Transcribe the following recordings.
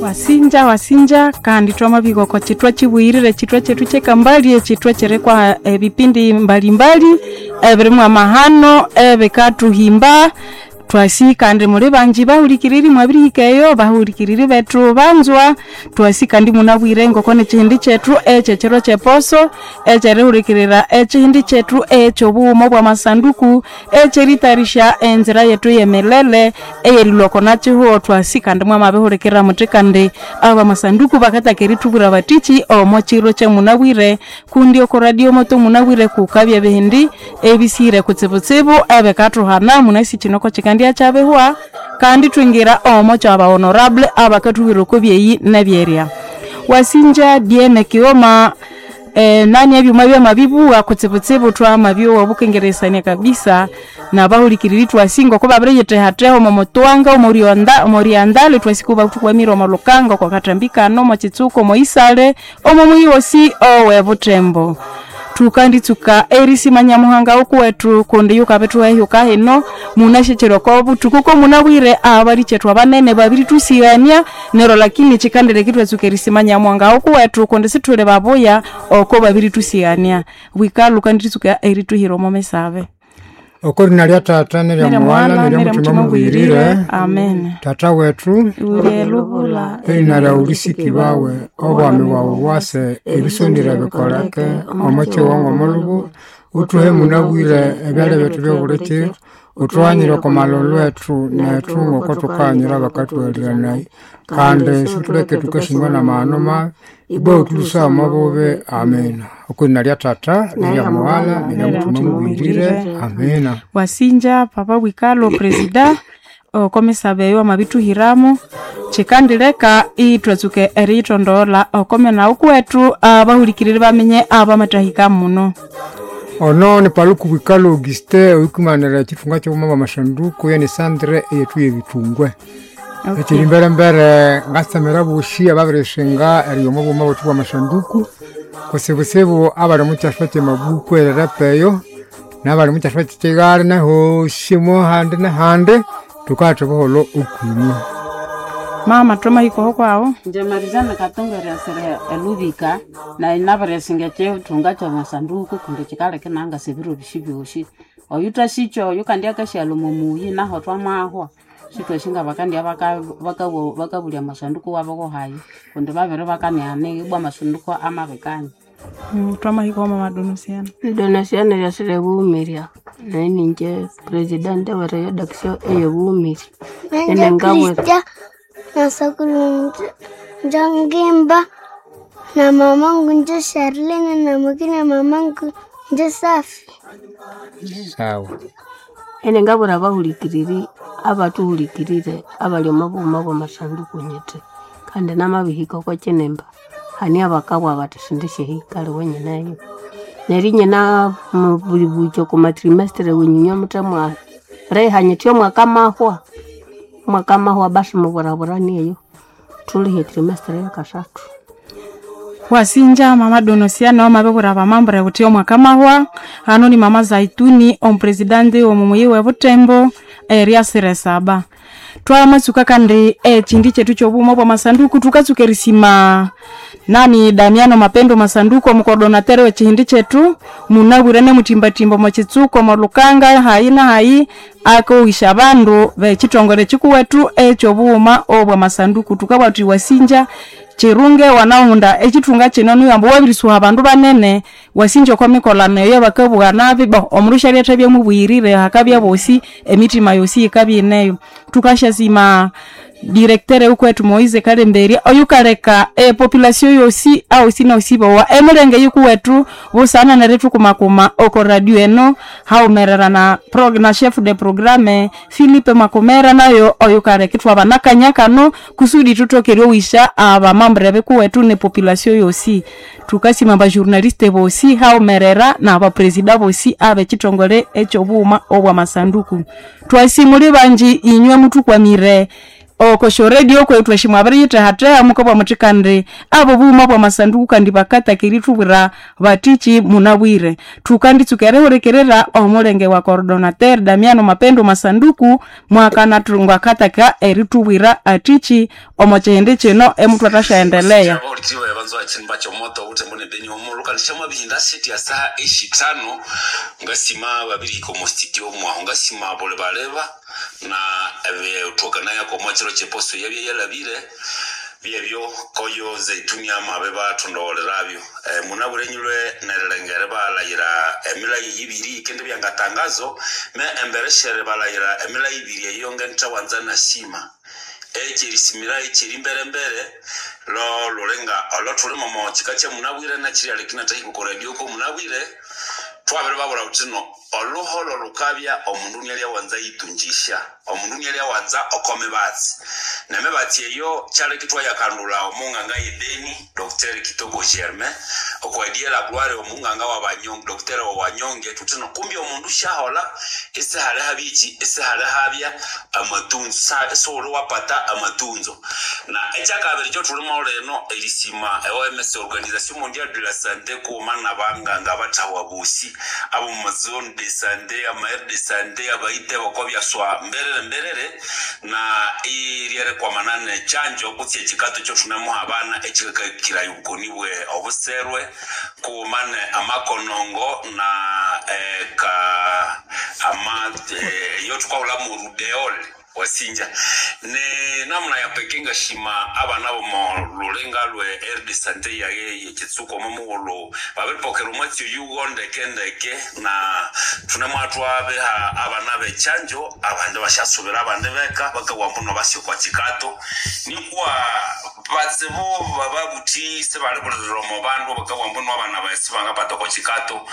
Wasinja wasinja kandi twamabihika oko kithwa kibuyirire ekithwa kyethu kyekambali ekithwa ekirikwa ebipindi mbalimbali ebirimu amahano ebikathuhimba. Twasi kandi muli bangi bahulikiriri mwabirihika eyo, bahulikiriri bethu banzwa. Twasi kandi munabwire ngoko nekihindi kyethu ekyekiro kyeposo ekyerihulikirira ekihindi kyethu ekyobughuma obwamasanduku ekyeritayarisya enzira yethu eyemilele eyerilhwa oko nakihugho. Twasi kandi mwamabihulikirira muthi kandi abamasanduku bakathaka erithubwira bathiki omo kiro kyamunabwire kundi oko radio moto munabwire kukabya ebihindi ebisihire kutsibutsibu ebikathuhana. Munasi kino kokikandya kyabihwa kandi twingira omo kyaba honorable abakathubwira oko byeyi nebyerya. Wasinja diene kighoma nani ebyuma byamabibuwa kutsibutsibu twamabyowa obukengeresania kabisa nabahulikiriri twasi ngoko babiriyithehatheha omo mutwanga omoryonda omoryandale twasi kubathukwamire omo lukanga oko kathambi kano omo kitsuku omo isale omo muyi wosi owe Butembo. Thukanditsuka erisima Nyamuhanga ukuwethu kundi yukabithuha ehyuka hino munasyekyera oko buthuku komunabwire abalikyethu abanene babirithusiyania neryo lakini kyikandireka ithwatsuka erisima Nyamuhanga ukuwethu kundi sithuli babuya oko babirithusiyania. Bwikalhu kanditsuka erithuhira omo misabe. Oko lina lya Tata nerya Nerya Mughalha Mughalha nerya nerya Muthima Muthima Mubuyirire. Mubuyirire. Amen. Tata wethu Uli elubula erina lyawu lisikibawe, obwami bwawu bwase, ebisondere bikoleke omo kihongo omolubu, uthuhe munabwire ebyalya byethu byobuli kiro, uthughanyire oko malholo ethu nethu ngoko thukaghanyira abakathughaliranaya, kandi sithuleke thukasingwa namahano mabi, ibwa uthulhusaye omo bubi. Amina. Oko lina lya Tata nerya Mughalha nerya Muthima Mubuyirire. Amina. Wasinja papa Bwikalo presida oko misabe eyo amabithuhiramu kyikandileka ithwatsuka eriyithondogholha oko mena ukuwethu abahulikiriri baminye abamathahika muno. Ono ni Paluku Bwikalo Augustin oyukumanira ekithunga kyobughuma bwamasanduku yani sandre eyethu yebithungwe. Ekyiri mbere ngasamira abosi ababirisinga eriyoma obughuma bwethu bwamasanduku kutsibutsibu abali omukyaswa kyemabuku erirepa eyo nabali omukyaswa kyekighali nahosi mohandi nahandi thukatha obuholho okwinywe. Mama twamahika oho kwawu? Inje Marizana Katunga eryasira elubika nayi nabirisinga ekithunga kyamasanduku kundi kyikaleka inangasa ebiro bisi byosi. Oyu thasikya oyu kandi akasyalha omo muyi naho thwamahwa sithwasi ngabakandya bakabulya amasanduku wabo kuhayi kundi babiri bakanighana ibwa amasanduku amabikanya. Twamahika oho mama Donosiana. Donasiana eryasira ebughumira nayi ningye presidente wereyodaction eyebughumira. Nanje Enengabwira Krista nasakuru njangimba na mamangu nje Charlene na mwingine mamangu nje Safi. Sawa. Enengabwira abahulikiriri abathuhulikirire abali omo bughuma bwamasanduku nyithi kandi namabihika oko kinimba hane abakabugha bathi sindisyahika aliwe nyineyo. Neryo inyina buli okwa trimestre wenyu inywe muthemwaliha nyithi omwaka amahwa, omwaka amahwa basi muburaburane eyo thulihe etrimestre eyakasathu. Wasinja mama Donosiana wamabibwira abamambure wuthi omwaka mahwa hano ni mama Zaituni omupresidente womumuyi we Butembo eryasira esaba. Twamatsuka kandi ekindi kyethu kyobughuma obwamasanduku thukatsuka erisima nani Damiano Mapendo Masanduku omukodonatere wekihindi kyethu munabwire nemuthimbathimba omo kitsuku omo lukanga hayi na hayi akowisya abandu bekithongole kikuwethu ekyobughuma obwamasanduku. Thukabugha thuthi wasinja kirunge wanahunda ekithunga kino nuyo ambu wabirisuha abandu banene wasinja oko mikolano eyo bakabugha nabi bo omundu syalyathabya mubuyirire hakabya bosi emitima yosi yikabya ineyo. Thukasyasima directeur wukwethu Moise Kalemberya oyukaleka epopulation yosi ahosi nahosi bowa emilenge yikuwethu busana nerithukumakuma oko radio eno haghumerera na, na chef de programme Philippe Makomera nayo oyukaleka ithwaba nakanya kano kusudi thuthoke eryowisya abamambure bikuwethu ne population yosi. Thukasima abajournaliste bosi haghumerera nabapresida bosi abekithongole ekyobughuma obwamasanduku. Twasi muli bangi inywe muthukwamire Okosho radio kwetu eshimwa abiriyithahatheha mukabwa muthi kandi abo bughuma bwa masanduku kandi bakatakeri thubwira batichi munabwire. Thukanditsuka erihurikirira omulenge wa coordonateur Damiano Mapendo Masanduku mwakanathunga akataka erithubwira atichi omo kihindi kino emuthu athasyaendelea. Abahulikiri banzo achimba chomoto ute mbone beni omulu kandi bihinda seti ya saha eshitano ngasima babiri komo studio mwaho ngasima bole baleba na utokana yako mwachiro cheposo yabye yalabire byebyo koyo zaituni amabe bathondowolerabyo munaburenyulwe nerelengere balayira emilayi ibiri ikende byangatangazo me embereshere balayira emilayi ibiri eyo ngenthawanza nashima ekyerisimira ekyeri mbere lo lulenga olo momo chika kya munabwire nakiri alekina tahiko ku radio ko munabwire twabere babura utino oluholo lukabya omundu nialyawanza yitunjisha omundu nialyawanza okomibatsi nemibatsi eyo kyaleki twayakandula omunganga yebeni Dr. Kitoko Germain okwadiela gloire omunganga wabanyonge Dr. wawanyonge tutino kumbi omundu shahola esihale habichi esihale habya amatunzo esolo wapata amatunzo na ekyakabiri kyo tulimo leno erisima OMS Organisation Mondiale de la Santé kuma nabanganga bathawa bosi abo mu zone de santé ama aire de santé abaite bakobyaswa mberere mberere na iryere ne chanjo kutsi ekikato kyo thunemuha abana ekikakirayo obukoni bwe obuserwe kumane amakonongo na ka ama yo tukahula mu rubeol wasinja ne namuna ya peke ngashima abana bomo lulenga lwe aire de santé yaye yekitsuko momughulu babiripokera omwatsi oyugo ndeke ndeke na thunemwathu abeha abana bechanjo abandi bashasubira abandi beka bakawa mbuno basyokwa chikato nikwa batsibu bababuthi sebalibulirira omo bandu bakawa mbuno abana besi bangapata kwa chikato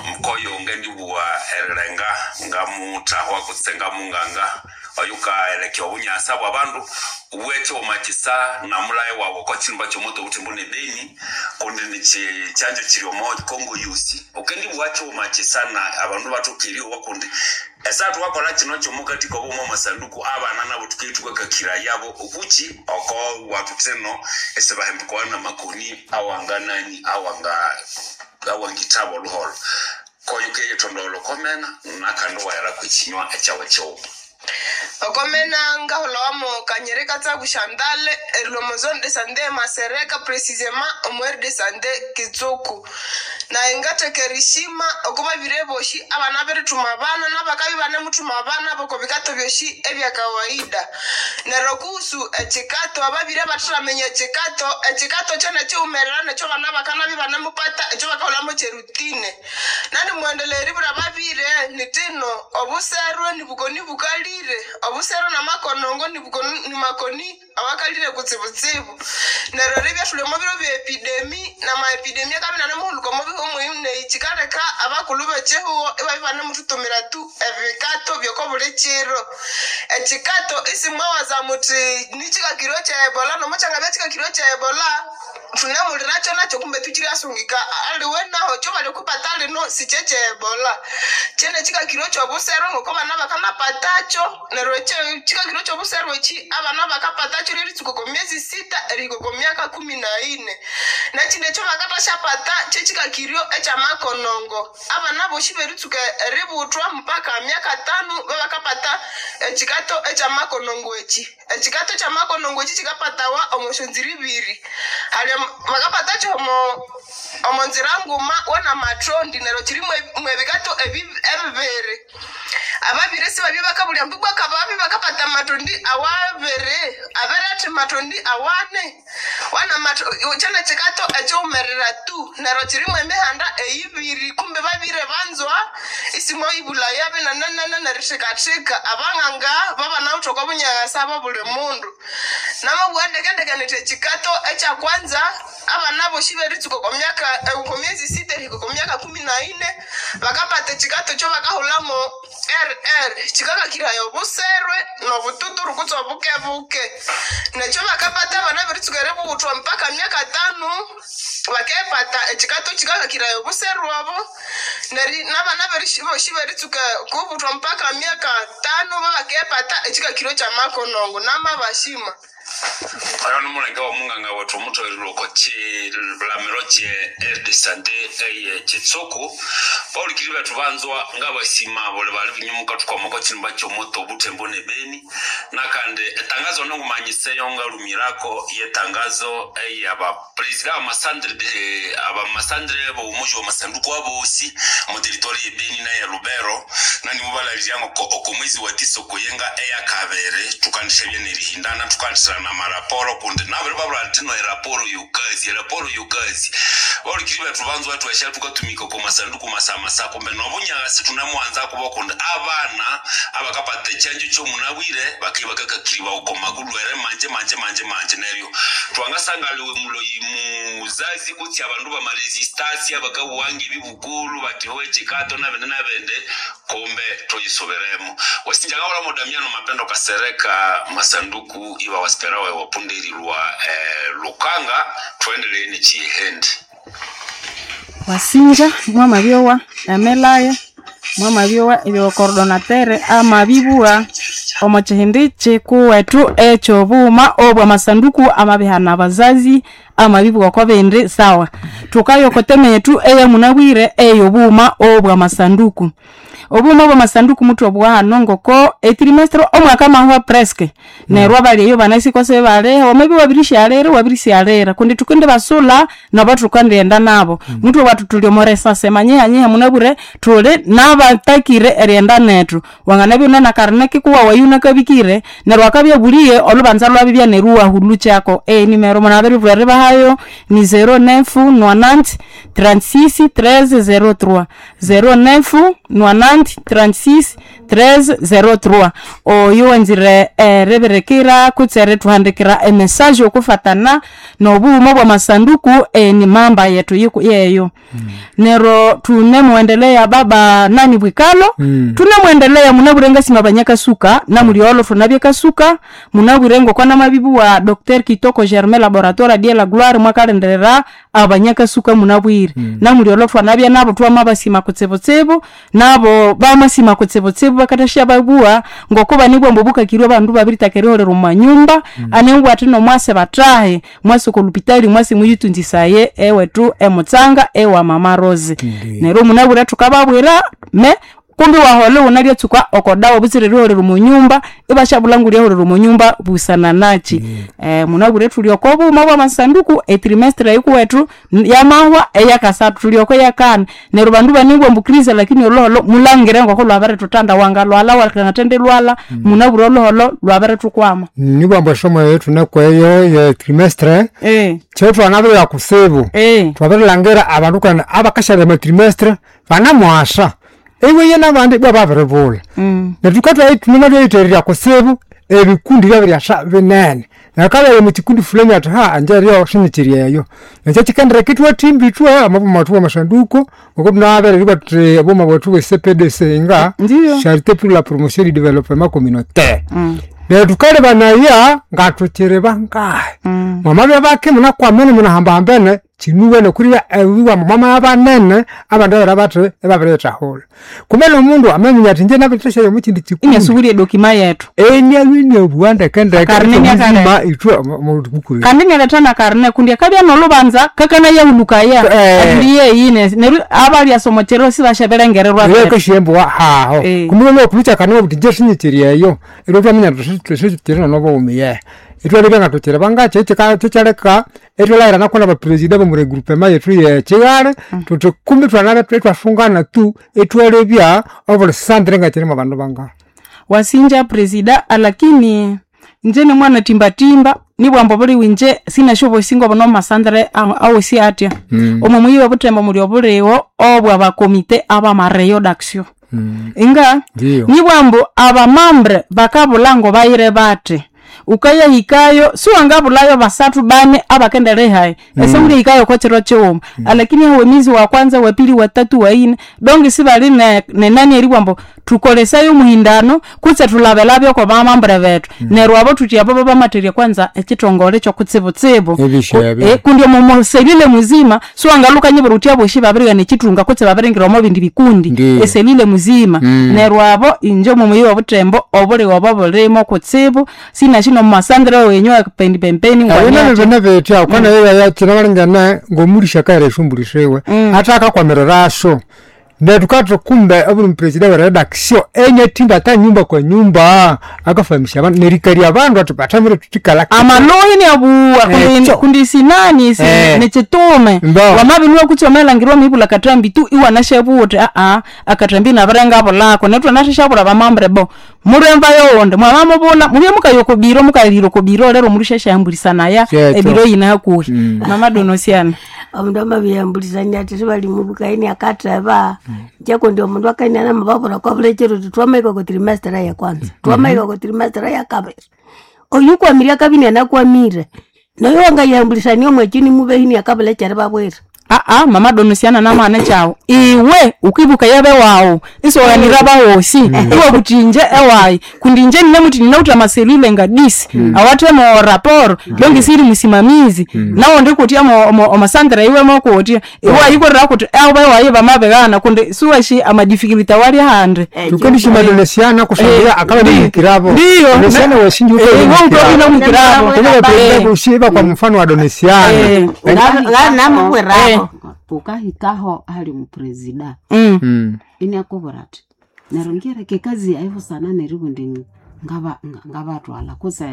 mkoyo ngendibuwa erilenga ngamuthahwa kutse ngamunganga oyuka elekya obunyasa bwa bandu ubwete omakisa namulaye wawe kwa chimba chomoto uti mbone beni kundi ni chanjo chiri omo Kongo yusi okendi bwacho omakisa na abandu batukiri wakundi esatu wakola chino chomukati kobumo masanduku abana nabo tukaitukakakira yabo okuchi oko watu tseno esebahembikwana makoni awanganani awanga awangithabo luholo koyo ke yethondolo komena nakhandi wayala kwichinywa echawe cheumo. Okomena ngahulawamo kanyereka tsaku Chantal erilwa zone de santé Masereka précisément omu aire de santé Kitsuku na ingatheka erishima okubabire boshi abana berithuma abana nabakabi banemuthuma abana bokobikato byoshi ebyakawaida. Neryo kuhusu ekikato ababire bathathamenya ekikato ekikato kyone kyiwumerera nekyo bana bakanabi banemupata ekyo bakahulhamu kyerutine. Nandi muwendelea eribwira ababire nithino obuserwe nibukoni bukalire obusero namakonongo nimakoni awakalire kutsibutsibu. Neryo ribya thuli omo biro bya epidemi namaepidemi akabya inanemuhulhuka omo bihu muhimu neyi kyikaleka abakulhu bekyihugho ibabya ibanemuthutumira tu ebikato byokobuli kiro. Ekikato isimwawaza muthi nikyikakirwe kya ebola nomukyangabya kyikakirwe kya ebola thunemulirakyo nakyo kumbe thukiryasungika aliwe naho kyo balikupata lino sikye kya ebola. Kyene kyikakirwe kyobusero ngoko abana bakanapatakyo neryo kyikakirwe kyobusero eki abana bakapatakyo ryeritsuka oko myezi 6 erihika oko myaka 14. Nekindi ekyo bakathasyapata kyekyikakiryo ekyamakonongo abana bosi beritsuka eributhwa mpaka myaka 5 babakapata ekikato ekyamakonongo eki. Ekikato kyamakonongo eki kyikapatawa omo syonzira ibiri. Hali bakapatakyo omo nzira nguma wanamatrondi neryo kyiri mwebikato ebibiri. Ababiri sibabye bakabulya mbu bwakababi bakapata matondi awabiri abere matondi awane wana kyene kikato ekyowumerera tu neryo kyirimu emihanda eyibiri kumbe babire banzwa isimoyibulaya binanenene nerithikathika abanganga babanawithe oko bunyakasa bobuli mundu. Namabugha ndekendeke nithi ekikato ekyakwanza abana bosi beritsuka oko myaka oko myezi 6 erihika oko myaka 14 bakapata ekikato kyo bakahulhamu RR kikakakiraya obuserwe nobututuru kutse obukebuke. Nekyo bakapata abana beritsuka eribughutwa mpaka myaka 5 bakepata. beripata ekikato kikakakiraya obuseru obo neri nabana bosi beritsuka kubuthwa mpaka myaka tano babakepata ekikakiro kyamakonongo namabashima. Oyo ni mulenge wa munganga wetu omuthowererwa oko kilamiro kye aire de sante eye kitsuku. Baulikiri bethu banzwa ngabasima buli bali binyumuka thukwama oko kinimba kyomoto obuthembo ne beni. Nakandi etangazo nongumanyiseyo ngalumirako yetangazo eyabapresida abamasandre de abamasandre bomuji wa masanduku abosi mu territory ye Beni na ya Lubero, nanimubalalirya ngoko oko mwezi wa tisa okuyenga eyakabere tukandishabya nerihindana tukandisirana maraporo kundi nabiri babula ntino eraporo yokazi eraporo yokazi. Baulikiri bethu banzwa twesha tukatumika oko masanduku masamasa kumbe nobunyagasi tunamuanza kuba kundi abana abakapata echanjo kyomunabwire bakiba bakakakiriba oko makulwere manje manje manje manje neryo twangasangaliwe muloyi muzazi kutsi abandu bamaresistasi abakabuwanga ebibukulu bati ho ekikato nabende nabende kumbe tuyisoberemo. Wasinjangawula modamiano mapendo kasereka masanduku iba wasiperawe wapundirirwa lukanga tuendelee nichihendi. Wasinja mwamabyowa emelaya mwamabyowa ebyokoordonatere amabibua omo kihindi kikuwethu ekyobughuma obwa masanduku amabihana abazazi amabibugha oko bindi sawa. Thukaya oko teme yethu eyamunabwire eyobughuma obwa masanduku. Obughuma obwa masanduku muthwabugha hano ngoko etrimestre omwaka mahwa presque neryo abali eyo banasi kose baliho wamabya wabirisyalira wabirisyalira kundi thukendibasula nabo thukandighenda nabo. Muthwabugha thuthi thuli omo resase manyihanyiha munabwire thuli nabatakire erighenda nethu. Wanganabya iwune nakarine kikuwawu eyo wunakabikire neryo akabya abuliye olhubanza lwabibya neryo iwahulukyako. Enimero munabiribulha eribahayo ni 09 90 36 13 03 09 90 36 13 03. Oyo wanzire eribirikira kutse erithuhandikira emessage okufatana nobughuma obwa masanduku eni mamba yethu yeyo. Neryo thunemuwendelea baba nani bwikalo thunemuwendelea munabwire ngasima abanyakasuka namulyolho thunabye kasuka munabwire ngoko namabibuwa Dr Kitoko Germain Laboratoire die la Gloire mwakalindirira abanyakasuka munabwire. Namulyolho thwanabya nabo thwamabasima kutsibutsibu nabo bamasima kutsibutsibu bakathasya babuwa ngoko banibwa ambu bukakirwe abandu babiritaka eriholera omu manyumba anengwa athi nomwase bathahe mwase oko lupitali mwase muyitunzisaye ewethu emutsanga ewa Mama Rose. Neryo munabwire thukababwira me kumbi waholha iwunalyatsuka oko dawa butsira eriholera omu nyumba ibasyabulha ngulyaholera omu nyumba busana nachi. Munabwire thuli oko bughuma bwa masanduku etrimestre eyikuwethu yamahwa eyakasathu thuli oko eyakani. Neryo bandu banibwa ambu krize lakini olhuholho mulangire ngoko lwabirithuthanda wangalhwalha wangathendilhwalha munabwire olhuholho lwabirithukwama. Nibwa ambu esomo eyo thunekweyo ye trimestre kyethwanabirya kutsibu. Thwabirilhangira abandu kandi abakasyalya amatrimestre banamughasa iwiye nabandi ibwa babiribulha. Neryo thukathuka thunematwayithererya kutsibu ebikundi byabiryasa binene. Neryo akabya omukikundi fulani athi ha angye eryo sinyikiri eyo. Ekyo kyikendireka ithwathimba ithwe amabuma wethu wamasanduku ngoku thunabere thuthi obuma bwethu bwe CPDC nga Charité pour la promotion du développement communautaire. Neryo thukalebanaya ngathukyiri bangahi. Mwamabya bake munakwamene munahambahambene kyinuwene kuli ebiwa mwamabya banene abandu babere bathi ibabiriyithahulha. Kumbe nomundu amaminya athi ingye nabirithasyayo omukyindi kikundi Inasubulya edokima yethu. Enialwe inabugha ndekendeke Karne ekyomuzima ithwe omubuku. Kandi inaletha nakarne kundi akabya nolhubanza kakanayahulukaya andi yeyine neryo abalyasa omo kyiro sibasyabirengererwa Neryo akasya haho. Kumbe nokulukya karne buthi ingye sinyikiri eyo. Eryo thwaminya thuthi sikyiri nobughuma ithwalebya ngathukyiri bangakyi kyikyaleka ithwalhaghirana nabapresida bomu regroupement yethu yekyigale thuthi kumbi thwanabya ithwasungana tu ithwalebya obuli sandre ngakyirimu abandu bangahi. Wasinja presida alakini inje nimwana timbatimba nibwa ambu obuliwe inje sinasyobosi ngobuno omumasandre awosi atya. Omo muyi obuthembo muli obuligho obwa bakomite abamareyo d'action. Inga nibwa ambu abamambre bakabulha ngobayire bathi. Ukayahikayo siwangabulhayo basathu bane abakenderihayi ese mulihikayo oko kyiro kyighuma. Alakini hawe emizi wa kwanza wa pili wa tatu wa ine donge sibali nenani eribugha ambu Thukolesaye omuhindano kutse thulabelabyo oko bamambure bethu. Neryo abo thuthi abo babamatherya kwanza ekithongole kyokutsibutsibu. Ebisyo ebyo. Kundi omo selile muzima siwangalhuka nyibwira wuthi abosi babirighana ekithunga kutse babiringira omo bindi bikundi. Ndiyo. Eselile muzima. Neryo abo inje omo muyi obuthembo obulighe obo bulimo kutsibu sinasi nomumasandre wenyu pendi pempeni Ebyo nabyo ngwaniathi. bine bitya ukanayeya kinabalingene ngomulisha akaghera esyombuli siwe atha akakwamiriraso neryo thukathi kumbe obuli mupresida weredaction enyathimba ata nyumba kwa nyumba akafahamisha abandu nerikalya abandu athi bathamire thuthikala Amaluhi niabuwa kundi, Ekyo. kundi sinani si, nikyitume Mbo. wamabinwa kutse wamalangirwa mibula kathambi tu iwanashabuthe aa akathambi nabirenga bulako nethu twanashabula bamambure bo muremba yowundi mwamamubula mubye mukaya okobiro mukayira okobiro lero murushashambulisanaya Kyekyo. ebiro yina hakuhi mama donosiana. Omundu amabiyambulisania athi sibalimubukaini akatheba nje kundi omundu akainia namababura kwabulekero uthi twamahika oko trimester ya kwanza, twamahika oko trimester ya kabiri, oyu kwamire akabya inianakwamire noyo wangayambulisania omwekyi nimubehi akabulekere babwira. Aa mama donosiana namwana kyawu iwe ukibuka yabe wawu isiwaghanira bawosi iwe kuti inje ewayi kundi inje ninemuthi ninawuthe amaselile ngadisi awathe mo raporo longi siri musimamizi nawo ndikutya omasandra iwe mokutya iwe ayikorera kuti abo ewayi bamabighana kundi siwashi amadifikulty awali ahandi. Tukendishima donesiana kusangila akaba nimukirabo Ndiyo. donesiana wesinji Iwe ukabya mukirabo. ushiba kwa mfano wa donesiana Namubwirabo ukahikaho hali mupresida iniakubwira athi neryo ngireke ekazi yayi busana neribundi ngabatwala kutse.